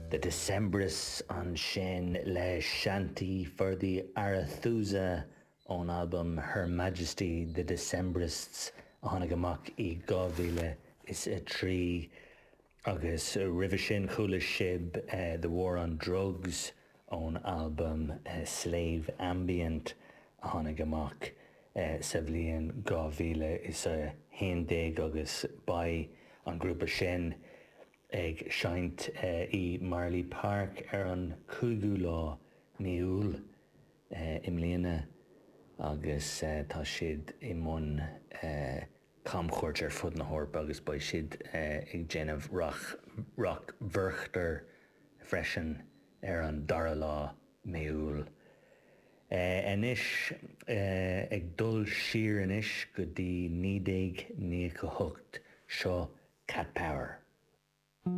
The Decemberists ansin le Shanty for the Arethusa ón albam Her Majesty The Decemberists a tháinig amach i 2003 agus roimhe sin chuala sibh The War on Drugs ón albam Slave Ambient a tháinig amach sa bhliain 2011 agus beidh an grúpa sin ag seinnt i Marlay Park ar an 5ú lá mí Iúil i mbliana agus tá siad i mbun camchuairt ar fud na hEorpa agus beidh siad ag déanamh Rock Werchter freisin ar an dara lá mí Iúil. Anois, ag dul siar anois go dtí 1998, seo Cat Power.